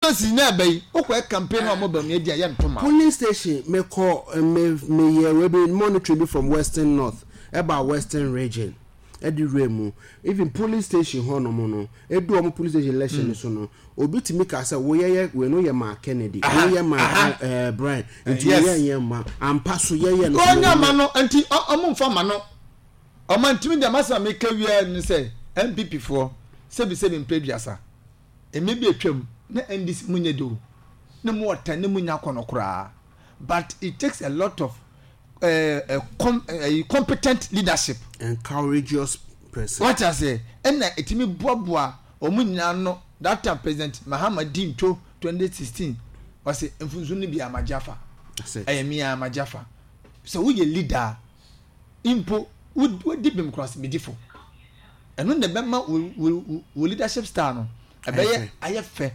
Constituency na ɛbɛ yi, wokɔ yɛ campaign na wɔn Bawumia din a, yɛ nto ma wo. Polling station, me kɔ, me, me yɛ wei bi, monitoring bi from Western North, ɛba Western Region, ɛde wura mu. Even polling station hɔ nom no, edu wɔn polling station election no so no, obi tumi ka sɛ, wo yɛ yɛ, wei no yɛ maa Kennedy, wei yɛ maa ɛɛ Brian, nti wei yɛ nyɛ ma, ampa so yɛ yɛ no. Wɔnyɛ ma no, nti wɔn nfa ma no. Ɔma ntumi deɛ masɛm a meka wie ne sɛ, NPP foɔ, sɛbi sɛbi mpɛ aduasa. Mmɛ bi atwam na NDC mu nyɛ de o, ne mu ɔtan ne mu nya akɔnɔ koraa but it takes a lot of eh, eh, com, eh, competent leadership. And courageous person. Wate aseɛ? Ɛna ɛtumi boaboa wɔn nyinaa ano. That time President Mahama di ntwo 2016 ɔse mfunsu no bi a magye afa. Ɛyɛ me a magye afa. Sɛ woyɛ leader a mpo wodi bem koraa sɛ medi fo. Ɛno na ɛbɛma wo wo leadership style no ɛbɛyɛ ayɛ fɛ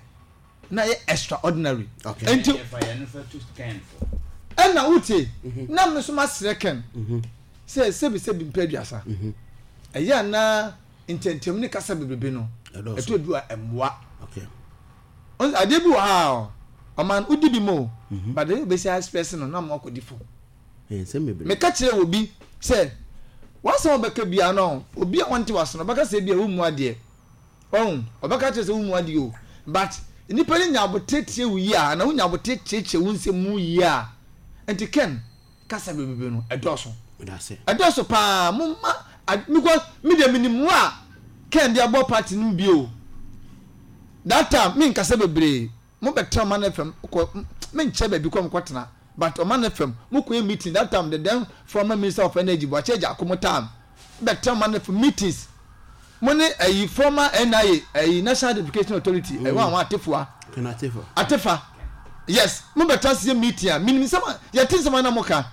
na ayɛ extraordinary. Nti ɛna wotie mhm. na me nso masrɛ Ken mhm. sɛ sɛbi sɛbi mpɛ aduasa mhm. ɛyɛ anaa ntɛntɛm ne kasa bebrebe no ɛtɔ du a ɛmmoa. Adeɛ bi wɔ ha a ɔman wodi bi mu o but ɛyɛ obɛsi express no na mo akɔdi fo. Meka kyerɛɛ obi sɛ, W'asɛm a wobɛka biara no, obi a ɔnte w'ase no, ɔbɛka sɛ ebia wummu adeɛ. Wahu? Ɔbɛka akyerɛ sɛ wummu adeɛ o. But nnipa no nya aboterɛ tie wo yie a, anaa wonya aboterɛ kyerɛkyerɛ wo nsɛm mu yie a, nti Ken, kasa bebrebe no, ɛdɔɔso. Ɛdɔɔso paa. Momma, because me deɛ menim wo a Ken de abɔ party no mu bi o. That time, menkasa bebree. Mo bɛ tena ɔman FM kɔ me nkyɛ baabi kɔ mo kɔ tena but ɔman FM mo kɔ yɛ meeting that time the then former minister of energy Boakye Agyarko mo time bɛ tena ɔman FM meetings mo ne ɛyi former NIA ɛyi National Identification Authority ɛyi wɔn àwọn Atefua Atefa yes mo bɛ tena se yɛ meeting a minim nsɛm a yɛte nsɛm a na mo ka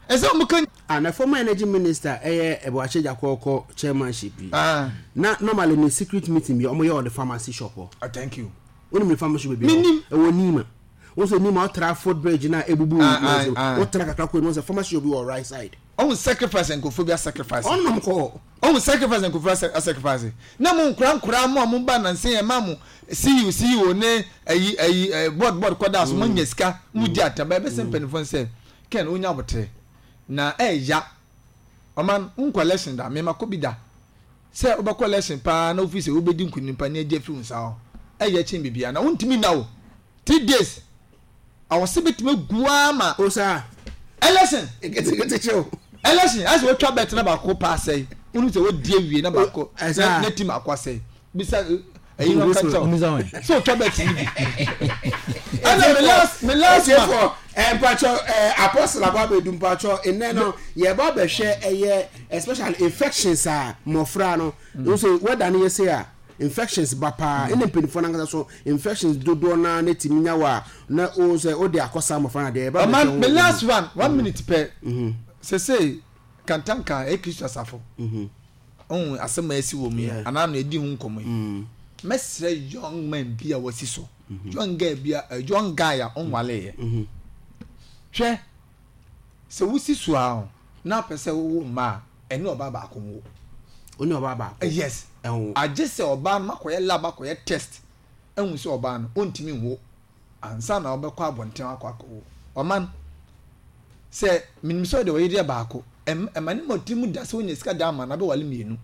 ɛsɛ mo ka. Ah na former energy minister ɛyɛ Boakye Agyarko kɔ chairmanship yi na normally ne secret meeting bi ɔmo yɛ wɔ the pharmacy shop hɔ. Ah thank you. Wonim ne pharmacy baabi hɔ? Ɛwɔ Nima. Wo sɛ Nima wotra foot bridge na ebubu wotra kakra kɔ anim sɛ pharmacy bi wɔ right side. Ɔhu sacrifice nkurɔfoɔ bi asacrifice. Ɔnom kɔ. Ɔhu sacrifice nkurɔfoɔ asacrifice. Na mo nkora nkora mo a mo ba nansa yɛ ma mo CEO CEO ne ayi ayi board board kɔda so mo nya sika mo di ataba ɛbɛsɛ mpanimfoɔ nsɛ Ken wonya abotere na ɛya ɔman nkɔ election da mema kɔ bi da. Sɛ wobɛkɔ election paa na wofeel sɛ wobɛdi nkunim paa ne agye afi wo nsa hɔ ɛyɛ kyɛn biribiara na wontumi nna o three days awɔse bɛtumi agu ara ma O saa. Election Nketenkete kye o. Election ayɛ sɛ watwa bet na baako paa asɛe wonim sɛ wadi awie na baako na na team baako asɛe bisa ɛyi no nka kyɛw sɛ otwa bet no bi ɛna me last me last ma mpatsɔ apostle aba abɛdu mpatsɔ nnɛ no yɛba abɛhwɛ ɛyɛ especially infections a mmɔfra no nso wɛda no yɛ se a infections ba paa ɛna mpanimfoɔ no ankasa so infections dodoɔ naa na tumi nya wɔ a na o sɛ o de akɔsa mmɔfra no adeɛ yɛba abɛhwɛ ho. Me last one one minute pɛ sese kantanka ɛyɛ Kristo asafo. Wohu asɛm a asi wɔ mu yi anaa no yɛdi ho nkɔmmɔ yi. Mɛsrɛ young man bi a wasi so, young girl bi a young guy a ɔnwaleeɛ. Hwɛ, sɛ wosi so a na apɛ sɛ wowo mma a, ɛne ɔbaa baako nwo. Wo ne ɔbaa baako? Yes. Ɛnwo. Agye sɛ ɔbaa no makɔyɛ lab akɔyɛ test ahu sɛ ɔbaa no ɔntumi nwo. Ansa na wobɛkɔ abɔnten akɔ akɔwo ɔman. Sɛ menim sɛ ɔde ɔyere yɛ baako, ɛma ne mmɔ tirim da sɛ wonya sika da ama no abɛwale mmienu.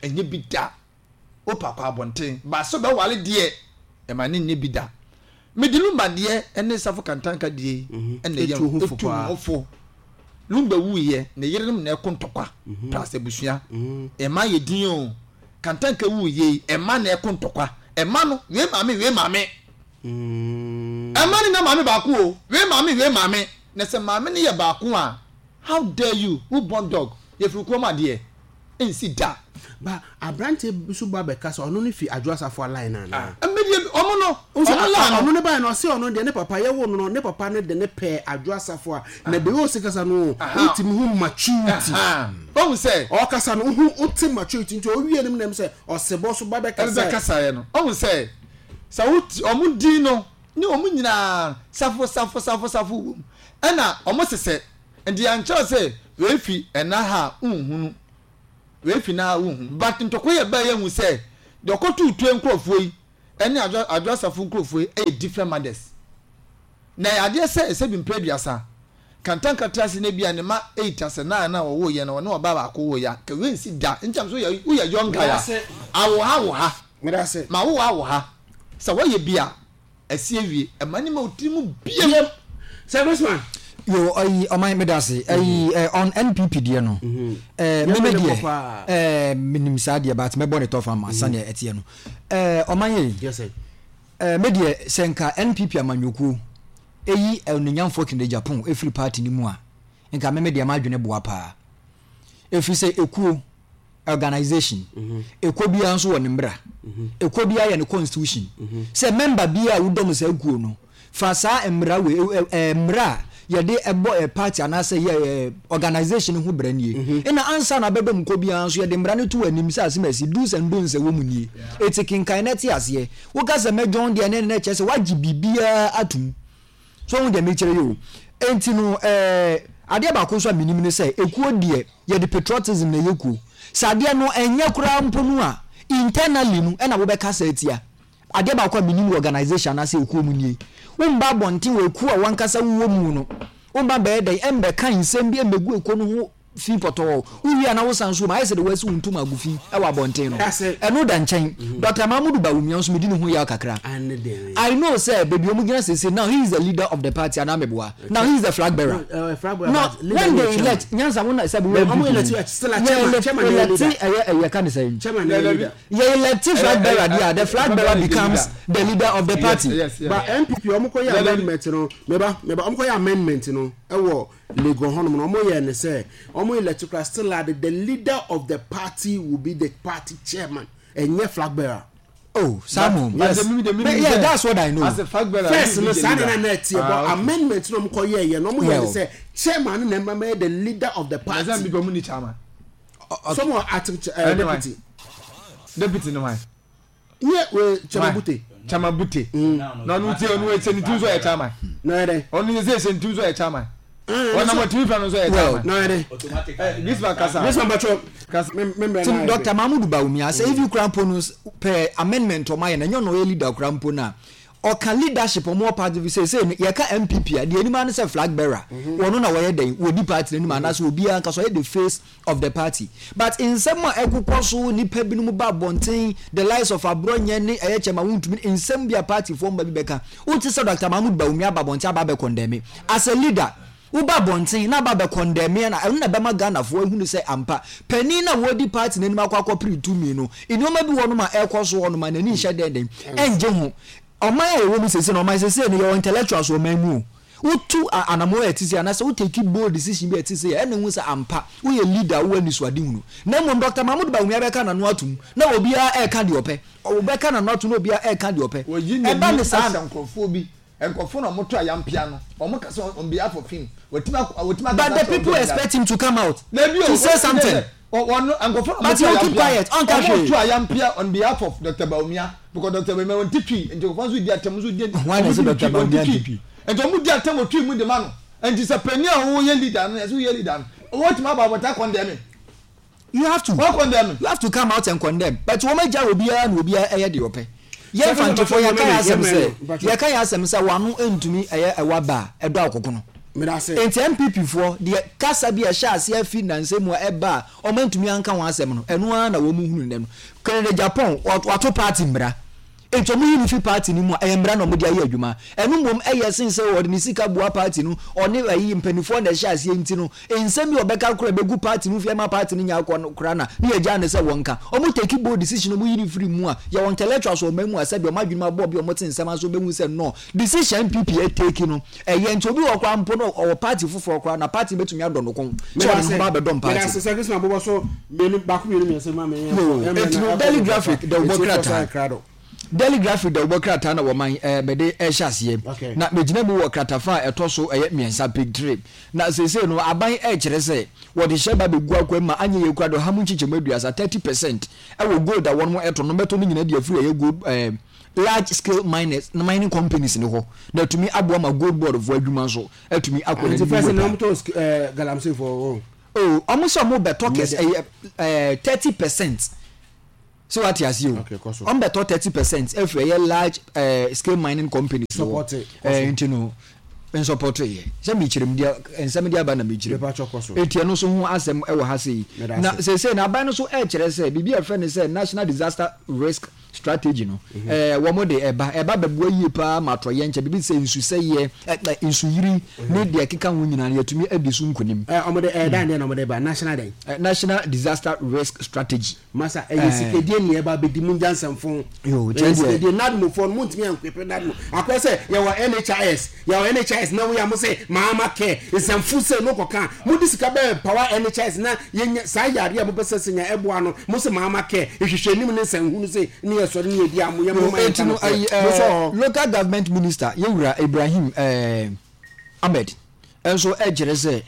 Ɛnyɛ bi da. Wopɛ akɔ abɔnten, but sɛ ɔbɛwale deɛ, ɛma ne nyɛ bi da. Mede Lumba deɛ ne Safo Kantanka deɛ yi na ɛyɛ ɛtu ho fo. Lumba wuiɛ, ne yerenom na ɛko ntɔkwa, plus abusua. Ɛma yɛ din o. Kantanka wuiɛ yi, ɛma na ɛko ntɔkwa. Ɛma no, wei maame, wei maame. Ɛma no nya maame baako o, wei maame, wei maame. Na sɛ maame no yɛ baako a, how dare you, who born dog, yɛfiri kurom adeɛ, ɛnsi da. Ba aberanteɛ bi nso ba bɛka sɛ ɔno no fi Adwo Asafo line no anaa? Medeɛ ɔmo no, ɔmo line no. Ɔno ne baeɛ no ɔse ɔno deɛ ne papa yɛwoo no no ne papa no de no pɛɛ Adwo Asafo a na the way ɔsi kasa no wotumi hu maturity. Wahu sɛ. Ɔkasa no wohu wote maturity nti ɔwie no mu na ɛm sɛ ɔsebɔ so ba bɛkasaɛ. Bɛkasaeɛ no wahu sɛ sɛ wo ɔmo din no ne ɔmo nyinaa safo safo safo safo wɔ mu ɛna ɔmo sesɛ nti yɛankyerɛ sɛ wei fi ɛna ha a wonhunu. Wei fi na wonhu but ntɔkwa yi a ɛbaeɛ yi ahu sɛ deɛ ɔkɔtoo tue nkorɔfoɔ yi ɛne Adwo Adwo Asafo nkurɔfoɔ yi ɛyɛ different mothers. Na ɛyɛ adeɛ sɛ ɛsɛ bi mpɛ aduasa. Kantanka te ase na ebia ne mma eight asɛ nine a wɔwoeɛ no ɔne ɔbaa baako woeɛ a, nka wei nsi da. Nti am sɛ woyɛ woyɛ young guy a, awo ha wo ha. Ma wo awo ha. Sɛ woayɛ bi a, ɛsi awie. Ɛma ne ma wo tiri mu biem. Sir Christmas. Yo, ayi ɔman meda ase. Ayi eh, on NPP deɛ no. Eh, me me deɛ eh, menim saa deɛ but mɛbɔ ne tɔfa ma sɛdeɛ ɛteɛ no. Eh, ɔman yɛ. Yes sir. Eh, me deɛ sɛ nka NPP amanyɔkuo eyi Onuonyamfoɔ Kennedy Agyapong efiri party no mu a, nka me me deɛ m'adwene boa paa. Efiri sɛ ekuo, organisation, ekuo biara nso wɔ ne mmra, ekuo biara yɛ ne constitution. Sɛ member biara a wodɔm saa kuo no, fa saa mmra wei, ɛ, ɛ, mmra a yɛde ɛbɔ ɛ party anaasɛ yɛ ɛ organisation no ho bra nie. Ɛna ansa na abɛdɔm kuo biara nso yɛde mmra no to w'anim sɛ asemasi, do's and don'ts ɛwɔ mu nie. Eti kenkan na te aseɛ. Woka sɛ mɛdwɔn deɛ ne na kyerɛ sɛ woagye biribiara atom. So wohu deɛ mekyerɛ yi o? Enti no ɛɛ adeɛ baako nso a menim ne sɛ ekuo deɛ yɛde patriotism na ɛyɛ kuo. Sɛ adeɛ no ɛnyɛ koraa mpo no a, internally no ɛna wobɛkasa atia. Adeɛ baako a menim wɔ organisation anaasɛ ekuo mu nie, womba abɔnten wɔ ekuo a w'ankasa wowɔ mu no, womba bɛyɛ dɛn ɛmbɛka nsɛm bi ɛmmɛgu ekuo no ho fi pɔtɔɔ. Wowie a na wosan nso wom, ayɛ sɛ deɛ wɔasi wo ntoma agu fi wɔ abɔnten no. Ɛno da nkyɛn. Doctor Mahamudu Bawumia nso medi ne ho yaw kakra. I know sɛ baabi a wɔgyina seesei, now he is the leader of the party anaa meboa? Now he is the flag bearer. No, when they elect, nyansa wo na sɛ wowɔ NPP mu. Yɛ elect ɛyɛ ɛyɛ ka ne sɛn? Yɛ elect flag bearer deɛ a, the flag bearer becomes the leader of the party. But NPP wɔn kɔ yɛ amendment no, meba meba wɔn kɔ yɛ amendment no ɛwɔ Legon hɔnom no, wɔyɛɛ no sɛ wɔn elect koraa still a the leader of the party will be the party chairman, ɛnyɛ flag bearer. Oh, saa mo. Yes. But yeah, that's what I know. As a flag bearer, first no saa na na ɛteɛ but ah, amendment na wɔn kɔ yɛɛ yɛ no wɔn yɛ no sɛ chairman no na ɛma yɛ the leader of the party. Ɛsɛ bi wɔn ni chairman. Some are acting deputy. Deputy no why? Nye we Chama Bute. Chama Bute. Mm. Na ɔno ti ɔno ɛsɛ ne ti nso yɛ chairman. Na yɛ dɛ. Ɔno yɛ sɛ ɛsɛ ne ti nso yɛ chairman. Ɔnam ɔtumi fɛ no nso yɛ chairman. Na yɛ dɛ. Gisman kasa. Gisman bàtɔ. Kasa. Ti Dr. Mahmoud Bawumia sɛ ebi kura mpo no pɛ amendment ɔmo ayɛ na ɛnyɛ ɔno ɔyɛ leader kura mpo na ɔka leadership ɔmo wɔ party fi sɛ sɛ yɛka NPP a deɛ anim ano sɛ flag bearer wɔn na wɔyɛ dɛn wɔdi party n'anim anaasɛ obiara nka so ɔyɛ the face of the party but nsɛm a ɛkokɔ so nipa binom ba abɔnten the likes of aborɔnyɛ ne ɛyɛ kyɛma wontumi nsɛm bi a party foɔ mma bi bɛka wote sɛ Dr. Mahmoud Bawumia aba abɔnten aba abɛ condemn as a leader woba abɔnten na aba abɛ condemn na ɛno na ɛbɛma Ghanafoɔ ahunu sɛ ampa panin na wɔdi party n'anim akɔ akɔpere tumi no nneɛma bi wɔ nom a ɛkɔ so hɔ nom a n'ani nhyɛ dɛndɛn ɛngye ho ɔman a yɛwɔ mu sese no ɔman sese no yɛwɔ intellectuals wɔ ɔman mu o Wotu anammɔn a ɛte sei anaasɛ wo take bold decision bi a ɛte sei a, ɛna ehu sɛ ampa woyɛ leader a wowɔ anisoadehunu. Na mmom Doctor Mahmood Bawumia bɛka n'ano atom na obiara reka deɛ ɔpɛ. Ɔbɛka n'ano atom na obiara reka deɛ ɔpɛ. Wɔyi Ɛba n'ani ne saa ahyɛ nkurɔfoɔ bi, nkurɔfoɔ na wɔto ayampea no, wɔkasa on behalf of him, wɔtumi akɔ, wɔtumi akasa But the akyerɛ people wɔn expect him to come out Dabi o, to say wɔn something. sɛ wɔn nkurɔfoɔ na But wɔto he will keep ayampea, quiet, ɔnka hwee. wɔto ayampea on behalf of Doctor Bawumia. Because Doctor Bawumia wɔn ti twi nti nkurɔfoɔ nso di atɛm nso di Hwan na wɔn ɛsɛ di Doctor twi wɔn Bawumia ti nti twi twi? nti wɔn di atɛm wɔ twi mu de ma no nti sɛ panyin a wɔyɛ leader no ɛsɛ wɔyɛ leader no wɔtumi aba abɔnten akɔndɛme. You have to. Wɔn condemn. You have to come out and condemn. But wɔn agya obiara na obiara ɛyɛ deɛ ɔpɛ. Yɛn Mfantefoɔ yɛka yɛn asɛm sɛ yɛka yɛn asɛm sɛ wano ntumi ɛyɛ ɛwa ba a ɛdɔ akokono. Nti NPP foɔ deɛ kasa bi a ɛhyɛ aseɛ afi nnansa mu a ɛba a wɔn antumi anka ho asɛm no ɛno ara na wɔn hunu nnɛ no. Kennedy Agyapong wato party mmara nti wɔn yi no fi party no mu a ɛyɛ mmara na wɔn de ayɛ adwuma. Ɛno mmom ɛyɛ sen sɛ ɔde ne sika boa party no ɔne ayi mpaninfoɔ na ɛhyɛ aseɛ nti no nsɛm bi a ɔbɛka koraa ɛbɛgu party no fi ɛma party no nya akɔ no koraa na ne yɛgyaa no sɛ wɔnka. Wɔn take bold decision wɔn yi no firi mu a yɛwɔ intellectuals wɔ ɔman mu a sɛdeɛ wɔn adwene mu abɔ bi a wɔte nsɛm ase wɔbɛhu sɛ no decision NPP take no Ɛyɛ nti obi wɔ hɔ koraa mpo no ɔwɔ party foforɔ koraa na party no bɛtumi adɔ no kɔn sɛ ɔde ne ho ba abɛdɔm party. Yoo, enti no Daily Graphic dawubɔ krataa Daily Graphic dawubɔ krataa na wɔman ɛɛ mede ɛrehyɛ aseɛ. Na megyina mu wɔ kratafa a ɛtɔ so ɛyɛ mmiɛnsa, page three. Na seesei no aban ɛrekyerɛ sɛ wɔde hyɛ ba bɛgu akoa mu ma anyɛ yie koraa de ɔha mu nkyekyɛmu aduasa, 30%, ɛwɔ gold a wɔnom ɛtɔ no bɛtɔ no nyinaa de afiri ɛyɛ gold ɛɛ Large scale miners na mining companies no hɔ na atumi aboa ma gold board foɔ adwuma nso atumi akɔ n'anim Nti first yie na paa. wɔn tɔ eh, galamsey foɔ wɔn. Oh, wɔn sɛ wɔn bɛtɔ kɛse ɛyɛ ɛɛ 30%. So wate aseɛ o? Okay, kɔ so. Wɔn bɛtɔ 30% afiri ɛyɛ large eh, scale mining companies no hɔ. Support it, kɔ Eh, so. nti no nsɔpɔto yɛ sɛ mekyerɛ mu deɛ nsɛm de aba na mekyerɛ mu. Mepa kyɛw kɔ so. Enti ɛno nso ho asɛm wɔ ha sei. Meda Na ase. seesei no aban no nso ɛrekyerɛ sɛ biribi a yɛfrɛ no sɛ National Disaster Risk Strategy no, eh, wɔn de ɛba. Ɛba bɛboa yie paa ma atɔyɛnkyɛ, biribi te sɛ nsusɛeɛ, eh, eh, nsuyiri ne deɛ ɛkeka ho nyinaa no yɛatumi adi so nkonim. Eh, wɔn de ɛyɛ dan deɛ na wɔn de ba national dɛn? Eh, National Disaster Risk Strategy. Masa ɛyɛ sikadie ne ɛba abɛdi mu ngya nsɛmfo. Yo, Ɛyɛ kyɛ deɛ. sikadie NADMOfoɔ no montumi ankwepe NADMO. Akɔyɛ sɛ yɛwɔ NHIS, yɛwɔ NHIS na woyɛ a mo se Mahama care nsɛmfo sei no kɔka a, mode sika bɛ power NHIS na yɛnya saa yareɛ a mopɛ sɛ sɛ nya ɛboa no mo se Mahama care nhwehwɛnim ne nsɛnhunu sei ne yɛsɔre ne yɛdi a mo yɛ Yo, moma yɛnka enti no nokorɛ. ayi Mo sɔ eh, hɔ. local government minister yɛwura Ibrahim eh, Ahmed nso kyerɛ sɛ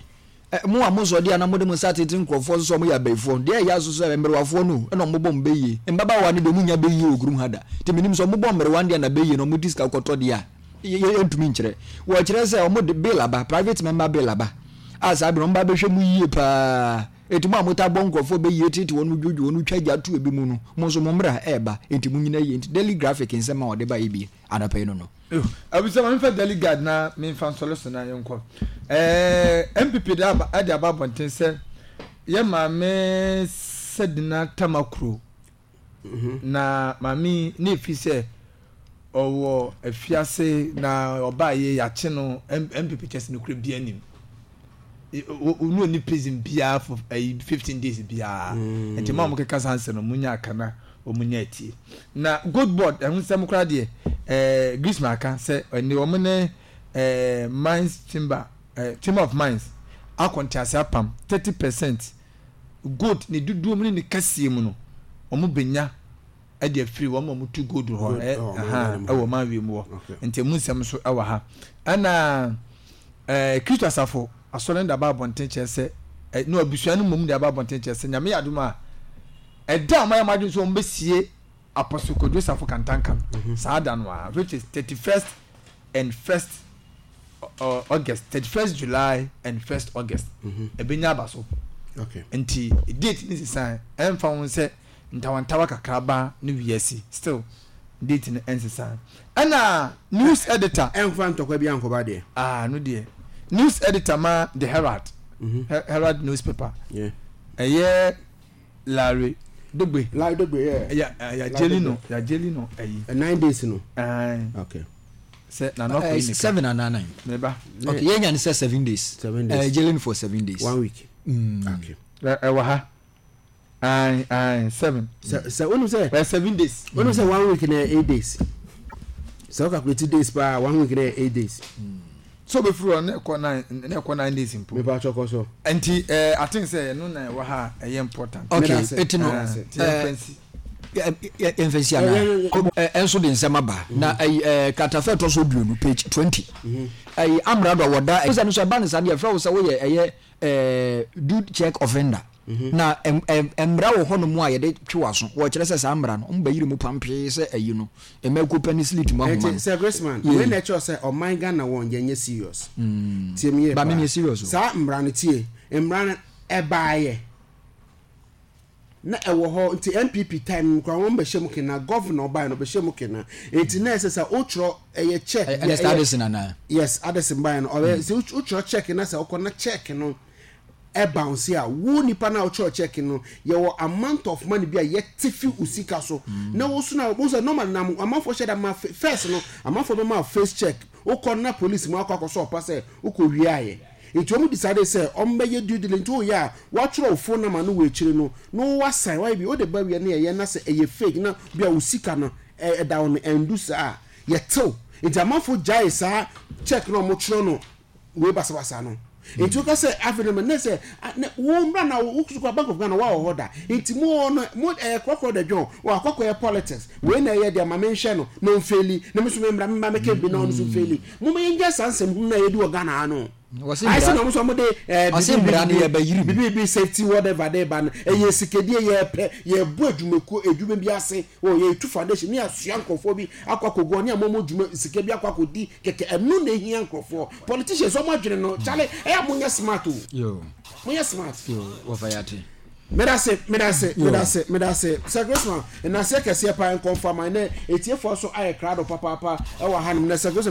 Mo a mosɔ deɛ a na mode mo nsa tete nkurɔfoɔ so sɛ wɔyɛ abayifoɔ no, deɛ ɛyɛ aso sɛ mmerewafoɔ no o, ɛna wɔbɔ wɔn bayie. Mmabaawa no deɛ wɔnnya bayie wɔ kurom ha da. Nti mennim sɛ wɔbɔ mmerewa no deɛ na bayie no wɔde sika kɔtɔ deɛ a, yɛntumi nkyerɛ. Wɔkyerɛ sɛ wɔde bill aba, private member bill aba, a saa bere no wɔba abɛhwɛ mu yie pa ara. Enti mo a motaa bɔ nkurɔfoɔ bayie tete wɔn, dwodwo wɔn, twa gya to ebi mu no, mo nso mo mmara reba, enti monnyina yie. Nti Daily Graphic nsɛm a wɔde baeɛ bi anɔpa yi no no. Abusua ma memfa Daily Guide na memfa nsɔre so na yɛnkɔ. Ɛɛ NPP de aba de aba abɔnten sɛ yɛ maame Sedina Tamakuro mhm. na maame yi ne efi sɛ ɔwɔ afiase na ɔbaa yɛ yɛakye no NPP kyɛ sɛ no kura bi anim. Onu oni prison biara for ɛyi 15 days biara. Mm. Nti maa wɔn keka saa nsɛm no mo nya akana wɔn nya atie. Na gold board ɛho nsɛm koraa deɛ ɛɛ Griezmann aka sɛ ɛne wɔn ne ɛɛ mines chamber ɛɛ chamber of mines akɔ ntease apam 30% gold ne dodoɔ mu ne ne kɛseɛ mu no wɔn benya ɛde afiri wɔn a wɔtu gold hɔ ɛ ɛha ɛwɔ man wiem hɔ nti emu nsɛm nso ɛwɔ ha ɛna ɛɛ Kristo asafo asɔre no de aba abɔnten kyerɛ sɛ ɛ no abusua no mmom de aba abɔnten kyerɛ sɛ nyame yɛ adom a ɛda a wɔayɛ wɔn adwene sɛ wɔbɛsie Apostle Kojo Safo Kantanka no mhm. saa da no a which is 31st and 1st uh, August 31st July and 1st August mhm. ɛbɛnya aba so nti date ne sisan ɛmfa ho sɛ ntawantawa kakraba ne wiase still date no ɛnsesa ɛna news editor. Ɛnfa ntɔkwa bi ankɔba deɛ. Ah no deɛ news editor ma the Herald mm -hmm. Herald newspaper ɛyɛ Larry Dogbe. Larry Dogbe yeah. Ya ya jeli no ya jeli no ɛyi. 9 days no. Ayi. Okay. Sɛ na nɔkɔ yi nika. 7 anaa 9. Meba. Okay yɛn nya ne sɛ 7 days. 7 days. Ɛɛ jailing for 7 days. One week. Okay. Ɛwɔ ha. Ae ae seven. Sɛ sɛ wonim sɛ. Ɛyɛ 7 days. Wonim sɛ one week na yɛ 8 days. Sɛ wo calculate days paa one week na yɛ 8 days. So obefiri hɔ na ɛkɔ nine na ɛkɔ 9 days mpo. Mepa atwa kɔ so. Nti ɛɛ I think sɛ ɛno na ɛwɔ ha a ɛyɛ important. Okay eti no Ti yɛn fɛn si. Yɛn fɛn si ana. Ɛnso de nsɛm aba na ɛyi ɛɛ kratafa ɛtɔ so 20 page 20 ɛyi amrado a wɔda. Ɛsɛ no so ɛba ne saa deɛ ɛfrɛ wo sɛ woyɛ ɛyɛ ɛɛ dude check offender. Na mmara wɔ hɔnom a yɛde twe w'aso. Wɔkyerɛ sɛ saa mmara no, wɔbɛyere mu pampee sɛ ayi no, mmakuo pɛ ne slit mu ahoma no. Nti Sir Graceman, wei na ɛkyerɛ sɛ ɔman Ghana wɔn yɛnyɛ serious. Tie me yie Ba paa. menyɛ serious o. Saa mmara no tie, mmara no ɛbaeɛ na ɛwɔ hɔ nti NPP time no koraa wɔn bɛhyɛ mu kena, governor ɔbaeɛ no ɔbɛhyɛ mu kena. Nti na ɛsɛ sɛ wotwerɛ ɛyɛ check. Ernest Addison anaa? Yes, Addison baeɛ no ɔbɛ sɛ wotwerɛ check na sɛ wokɔ na check no ɛbounce a, wo nipa no a wotwerɛ check no, yɛwɔ amount of money bi a yɛte fi wo sika so. Na wo so na wo sɛ normally na amanfoɔ hyɛ da ma first no, amanfoɔ bɛma face check. Wokɔ na police mu akɔ akɔsɔ ɔpa sɛ wokɔ wiaeɛ. Nti wɔn decide sɛ wɔn bɛyɛ due diligence. Nti woyɛ a, woatwerɛ wo phone number no wɔ akyire no, na woasan, woayɛ bi, wode ba wie na yɛyɛ na sɛ ɛyɛ fake na bi a wo sika no ɛda wo no ɛndu saa a, yɛtew. Nti amanfoɔ gyae saa check no a wɔtwerɛ no wei basabasa no nti woka sɛ afei no ne sɛ ne wo mmra na wo so Bank of Ghana wa wɔ hɔ da nti mo no mo ɛyɛ korɔkorɔ da dwon wɔ akɔkɔ yɛ politics wei na ɛyɛ deɛ ma menhwɛ no na ɔmfeli na me so me mmra me mma mɛka bi na ɔno so mfeli mo ma yɛngya saa nsɛm hunu na yɛdi wɔ Ghana ha no ayɛ sɛ na ɔmo so ɔmo de ɛɛ bibi bibi safety whatever de ba no ɛyɛ sikedie yɛpɛ yɛbɔ adwumakuo adwuma bi ase wɔ yɛtu foundation ne yɛasoa nkurɔfoɔ bi akɔ akɔgu ɔne amomo dwuma sika bi akɔ akɔdi kɛkɛ ɛno na ehia nkurɔfoɔ politicians ɔmo adwene no kyale ɛyɛ mo nyɛ smart o mo nyɛ smart. Wɔfa yate. Medase, medase, medase, medase. Sir Christmas, nnaseɛ kɛseɛ paa nkɔmfa ma ɛnɛ etiefoɔ so ayɛ krado papaapa ɛwɔ hanom. Na Sir Christmas.